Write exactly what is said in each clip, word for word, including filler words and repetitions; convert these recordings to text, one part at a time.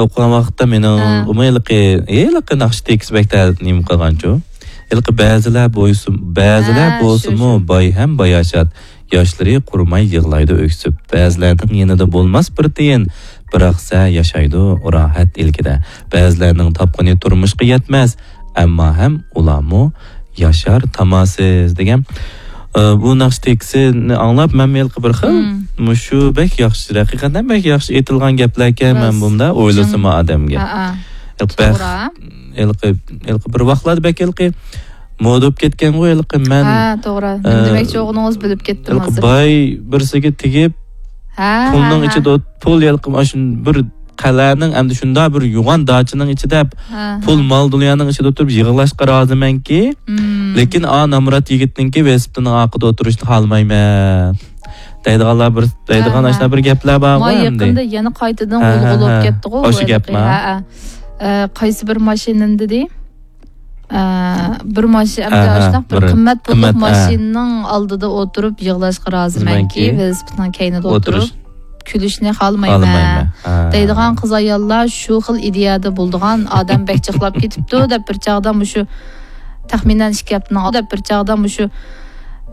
ئوقۇغان ۋاقىتتا مېنىڭ ھە. ئۇمۇ ھېلىقى، ھېلىقى ناخشا تېكىست بەك تە-، نېمە قىلغانچۇ. ھېلىقى بەزىلەر بويسۇن-، بەزىلەر ھە، شۇ، بولسىمۇ شۇ. باي ھەم باياشات، ياشلىرى قۇرۇماي يىغلايدۇ ئۆكسۈپ. بەزىلەرنىڭ يېنىدا بولماس بىر تىيىن، بىراق سە ياشايدۇ راھەت ئىلكىدە. بەزىلەرنىڭ تاپقىنى تۇرمۇشقا يەتمەس، ئەمما ھەم ئۇلارمۇ ياشار تاماسىز دېگەن. ئە، بۇ ناخشا تېكىستىنى ئاڭلاپ، مەن ھېلىقى بىر خىل، مم. مۇشۇ بەك ياخشى، ھەقىقەتەن بەك ياخشى ئېيتىلغان گەپلەركەن، مەن راست. بۇندا ئويلىسىمۇ جىڭ. ئادەمگە. ھە، ھە. ھېلىقى بەخ-، توغرا. ھېلىقى، ھېلىقى بىر ۋاقلاردا بەك ھېلىقى مودا بولۇپ كەتكەنغۇ ھېلىقى مەن، ھە، توغرا. نېمە ئە، دېمەكچى بولغىنىڭىزنى بىلىپ كەتتىم ھېلىقى ھازىر. باي بىرسىگە تېگىپ، ھە، پۇلنىڭ ھە، ھە. ئىچىدە ئوت-، پۇل ھېلىقى مانا شۇ بىر قەلئەنىڭ ئەمدى شۇنداق بىر يوغان داچىنىڭ ئىچىدە ھە، پۇل ھە. مال دۇنيانىڭ ئىچىدە ئولتۇرۇپ يىغلاشقا رازىمەنكى، مم. لېكىن ئا نامرات يىگىتنىڭكى ۋېلىسىپىتىنىڭ ئارقىدا ئولتۇرۇشنى خالىمايمەن دەيدىغانلار بىر، دەيدىغان ھە، ئاشۇنداق ھە. بىر گەپلەر بارغۇ ما ئەمدى. يېقىندا يەنە قايتىدىن ھە، ھە، غۇلغۇلا بولۇپ ھە. كەتتىغۇ، ئاشۇ بۇ گەپما؟ ھېلىقى، ھە، ھە. ئە، قايسى بىر ماشىنىنى دېدى؟ ئە، بىر ماشىنا، ھە، ئەمدى ھە، ئاشۇنداق بىر بىر قىممەت پۇللۇق قىممەت، ھە. ماشىنىنىڭ ئالدىدا ئولتۇرۇپ يىغلاشقا رازىمەنكى، رازىمەنكى. ۋېلىسىپىتنىڭ كەينىدە ئولتۇرۇش. ئولتۇرۇش. كۈلۈشنى خالىمايمەن. خالىمايمەن. ھە. دەيدىغان قىز-ئاياللار شۇ خىل ئىدىيەدە بولىدىغان ئادەم بەك جىقلاپ كېتىپتۇ دەپ بىر چاغدا مۇشۇ تەخمىنەن ئىككى ھەپتىنىڭ، دەپ بىر چاغدا مۇشۇ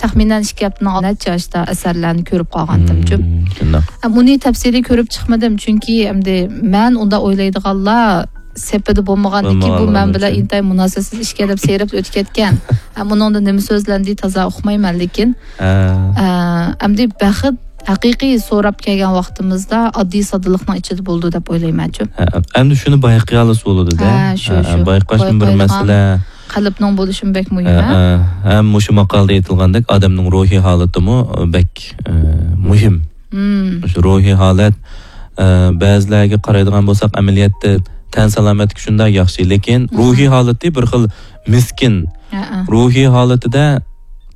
تەخمىنەن ئىككى ھەپتىنىڭ نەچچە ئاشتا ئەسەرلەرنى كۆرۈپ قالغانتىمچۇ. مم، شۇنداق. ئە، بۇنى تەپسىلىي كۆرۈپ چىقمىدىم، چۈنكى ئەمدى مەن ئۇنداق ئويلايدىغانلار سېپىدە بولمىغاندىكىن، بۇ مەن بولمىغانلىقىنىڭ بىلەن ئۈچۈن. ئىنتايىن مۇناسىۋەتسىز ئىشكەن دەپ سېرىپ ئۆتۈپ كەتكەن. ئە، بۇنىڭدا نېمە سۆزلەندى تازا ئۇقمايمەن، لېكىن، ھە. ئە، ئەمدى بەخت ھەقىقىي سوراپ كەلگەن ۋاقتىمىزدا ئاددىي ساددىلىقنىڭ ئىچىدە بولىدۇ دەپ ئويلايمەنچۇ. ھە، ئەمدى شۇنى بايقىيالىسا بولىدۇ-دە. ھە، شۇ، ھە، شۇ. بايقاشمۇ بىر بايقايدىغان مەسىلە. قەلبنىڭ بولۇشىمۇ بەك مۇھىم، ھە، ھە؟ ھە، ھەم مۇشۇ ماقالىدە ئېيتىلغاندەك، ئادەمنىڭ روھىي ھالىتىمۇ بەك، ئە، مۇھىم. مم. مۇشۇ روھىي ھالەت، ئە، بەزىلەرگە قارايدىغان بولساق، ئەمەلىيەتتە تەن سالامەتلىكى شۇنداق ياخشى، لېكىن مم. روھىي ھالىتى بىر خىل مىسكىن. ھە، ھە. روھىي ھالىتىدە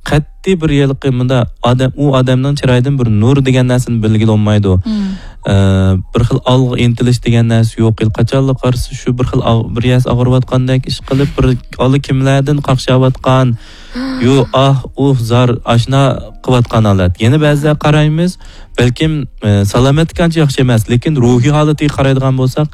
قەتئىي بىر ھېلىقى مۇنداق ئادەم، ئۇ ئادەمنىڭ چىرايىدىن بىر نۇر دېگەن نەرسىنى بىلگىلى بولمايدۇ. مم. ئە، بىر خىل ئالغا ئىنتىلىش دېگەن نەرسە يوق. قاچانلا قارىسا شۇ بىر خىل ئاغ-، بىر يەرسى ئاغرىۋاتقاندەك ئىش قىلىپ، بىر ئاللىكىملەردىن قاقشاۋاتقان، يو، ئاھ، ئۇھ، زار، ئاشنا قىلىۋاتقان ھالەت. يەنە بەزىدە قارايمىز، بەلكىم، ئە، سالامەتلىكى ئانچە ياخشى ئەمەس، لېكىن روھىي ھالىتىگە قارايدىغان بولساق،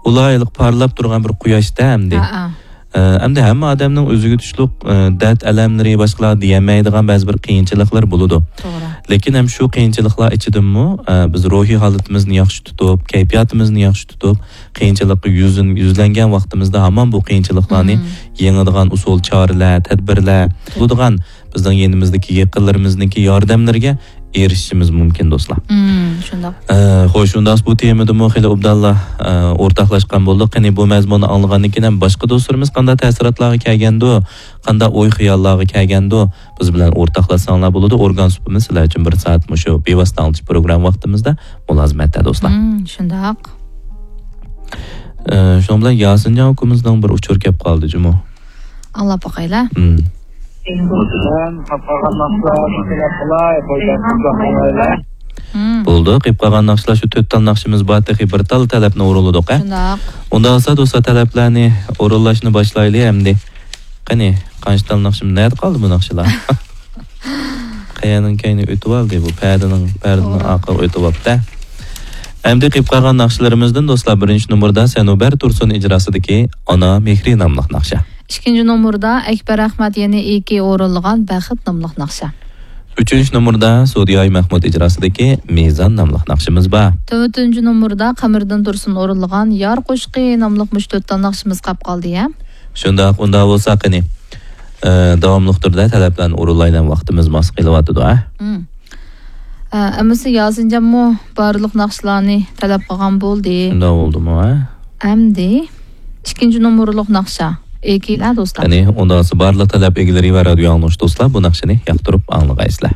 ئۇلار ھېلىقى پارلاپ تۇرغان بىر قۇياشتا ئەمدى. ھە، ھە. ئە، ئەمدى ھەممە ئادەمنىڭ ئۆزىگە تۇشلۇق، ئە، دەرد-ئەلەملىرى، باشقىلارغا دېيەلمەيدىغان بەزى بىر قىيىنچىلىقلىرى بولىدۇ. توغرا. لېكىن ھەم شۇ قىيىنچىلىقلار ئىچىدىمۇ، ئە، بىز روھىي ھالىتىمىزنى ياخشى تۇتۇپ، كەيپىياتىمىزنى ياخشى تۇتۇپ، قىيىنچىلىققا يۈزلىن-، يۈزلەنگەن ۋاقتىمىزدا ھامان بۇ قىيىنچىلىقلارنى مم. يېڭىدىغان ئۇسۇل، چارىلەر، تەدبىرلەر، بولىدىغان بىزنىڭ يېنىمىزدىكى يېقىنلىرىمىزنىڭكى ياردەملىرىگە ئېرىشىشىمىز مۇمكىن، دوستلار. مم، شۇنداق. ئە، خوش، ئۇنداقتا بۇ تېمىدىمۇ خېلى ئوبدانلا، ئە، ئورتاقلاشقان بولدۇق. قېنى، بۇ مەزمۇننى ئاڭلىغاندىن كېيىن ھەم باشقا دوستلىرىمىز قانداق تەسىراتلارغا كەلگەندۇ، قانداق ئوي-خىياللارغا كەلگەندۇ، بىز بىلەن ئورتاقلاشساڭلار بولىدۇ. ئورگان سۇپىمىز سىلەر ئۈچۈن بىر سائەت مۇشۇ بىۋاسىتە ئاڭلىتىش پروگرامما ۋاقتىمىزدا مۇلازىمەتتە، دوستلار. مم، شۇنداق. ئە، شۇنىڭ بىلەن ياسىنجان ئۇكىمىزنىڭ بىر ئۇچۇرى كەپ قالدى جۇمۇ. ئاڭلاپ باقايلا. مم. مم. بولدى، قېلىپ قالغان ناخشىلار شۇ تۆت تال ناخشىمىز بار، تېخى بىر تال تەلەپنى ئورۇنلىدۇق، ھە؟ شۇنداق. ئۇنداق بولسا، دوستلار، تەلەپلەرنى ئورۇنلاشنى باشلايلى ئەمدى. قېنى، قانچە تال ناخشىمىز، نەدە قالدى بۇ ناخشىلار؟ قەيەرنىڭ كەينى ئۆتۈۋالدى، بۇ پەدىنىڭ، پەدىنىڭ توغرا. ئارقىغا ئۆتۈۋاپتۇ. ئەمدى قېلىپ قالغان ناخشىلىرىمىزدىن، دوستلار، بىرىنچى نومۇردا سەنۇبەر تۇرسۇن ئىجراسىدىكى ئانا مېھرى ناملىق ناخشا. ئىككىنچى نومۇردا ئەكبەر ئەخمەت يەنى ئېكى ئورۇنلىغان بەخت ناملىق ناخشا. ئۈچىنچى نومۇردا سۇدىياي مەھمۇد ئىجراسىدىكى مىزان ناملىق ناخشىمىز بار. تۆتىنچى نومۇردا قەمەردىن تۇرسۇن ئورۇنلىغان يار قوشىقى ناملىق مۇشۇ تۆت تال ناخشىمىز قاپ قالدى، يا؟ شۇنداق، ئۇنداق بولسا قېنى، ئە، داۋاملىق تۈردە تەلەپلەرنى ئورۇنلايلى، ۋاقتىمىز ماس قېلىۋاتىدۇ، ھە؟ مم. ئە، ئەمىسە ياسىنجانمۇ بارلىق ناخشىلارنى تەلەپ قىلغان بولدى. شۇنداق بولدىمۇ، ھە؟ ئەمدى ئىككىنچى نومۇرلۇق ناخشا. ئېكىلەر دوستلار. قېنى، ئۇنداق بولسا بارلىق تەلەپ ئىگىلىرى ۋە رادىيو ئاڭلىغۇچى دوستلار بۇ ناخشىنى ياقتۇرۇپ ئاڭلىغايسىلەر.